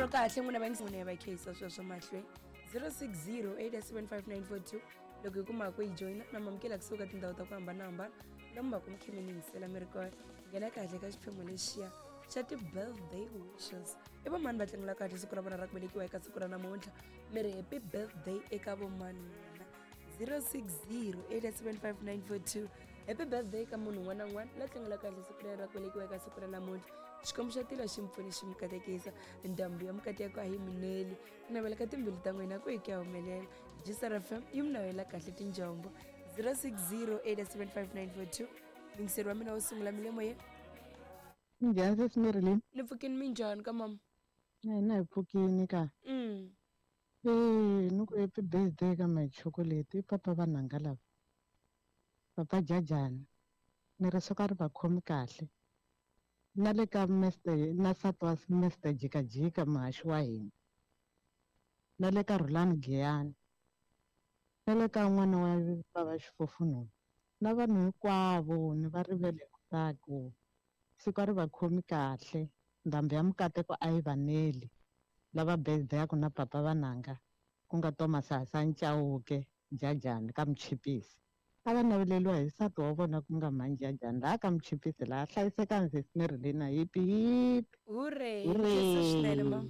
ro kahle n'wina va n'wina ya va kheyisa sweswo mahlweni 060 875 loko hi kuma ku yi joyina na mamukela kusuka tindhawu ta ku hambanahambana lomu va ku mi khe mi ni yingisela mi ri kona. Nghena kahle ka xiphemu lexiya xa ti-birthday wishes. I vomani va tlangela kahle siku ra vona ra ku velekiwa eka siku ra namuntlha? Mi ri happy birthday eka vomani n'wina? 060 875 happy birthday ka munhu un'wana na un'wana la tlangela kahle siku rera ra ku velekiwa eka siku ra namuntlha. Xikwembu xa tilo xi mi pfuni xi mi katekisa. Ndhambi ya mikateko a yi mineli. Ku navela ka timbilu ta n'wina ku hi ku ya humelela. Gsr FM yi mi navela kahle tinjombo. 060 875 Yingiseri wa mina wo sungula mi le moyeni. Minjhani sesi Marilyn? Ni pfukini, minjhani ka mama? Na hina hi pfukini ka. Ee, ni ku happy birthday ka my chocolate i papa vanhanga lava. Papa Jajani. Ni ri swo ka ri va khomi kahle. Na le ka Mister na nsati wa Mister Jikajika muhaxi wa hina. Na le ka Rhulani Giyani. Na le ka n'wana wa bava Xifofununu. Na vanhu hinkwavo ni va rivele ku siku a ri va khomi kahle. Ndhambi ya mikateko a yi va neli. Lava birthday-aku na papa vananga ku nga Thomas Hasani Chauke Jajani ka Muchipisi. A va naveleriwa hi nsati wa vona ku nga mhani Jajani laha ka Muchipisi laha hlayisekani sesi Marilyn hipi hipi. Hooray! Hooray! Swinene mama.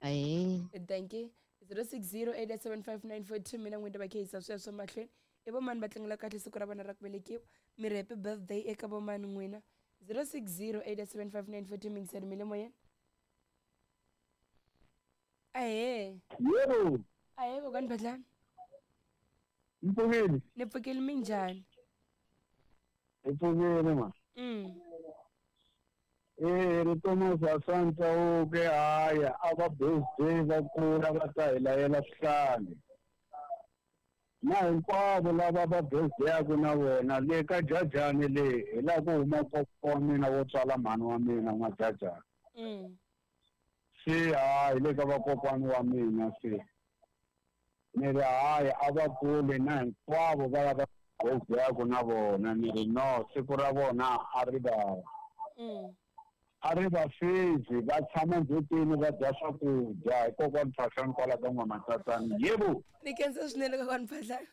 Ahee. Thank you. 060 875 mina n'wina va kheyisa sweswo mahlweni. I vomani va tlangela kahle siku ra vona ra ku velekiwa? Mi ri happy birthday eka vomani n'wina? 060 875 mingiseri mi le moyeni. Ahee. Yebo. Ahee kokwani Phahlane. Mpfukile. Ni pfukile, minjhani? Hi pfukile ma. Eh, ri Thomas Hasani Chauke haya a va birthday va kula va ta hi layela swihlale. Na hinkwavo lava va birthday-aku na vona le ka Jajani le hi laha ku huma kokwa wa mina wo tswala mhani wa mina n'wa Jajani. Se hayi le ka vakokwani wa mina se. Ni ri hayi a va kule na hinkwavo va lava birthday-aku na vona ni ri no siku ra vona a ri va a ri va fezi va tshama ndzhutini va dya swakudya hi kokwani Phahlane kwala ka N'wamatsatsana. Yebo. Ni khensa swinene kokwani Phahlane.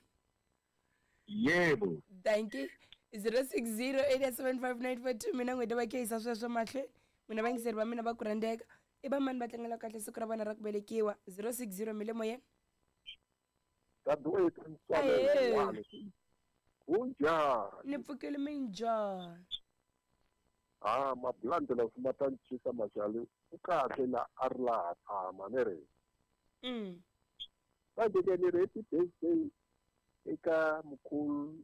Yebo. Thank you. 060 875 mina n'wina va kheyisa sweswo mahlweni. N'wina vayingiseri va mina va ku rhandzeka. I vamani va tlangela kahle siku ra vona ra ku velekiwa? 060 mi le moyeni. Dadewethu Ahee. Kunjani? Ni pfukile, minjhani? Ha mabulandela swi ma ta ncisa maxali u kahle la a ri laha tshama ni ri. Manje ke ni ri happy birthday eka mkhulu.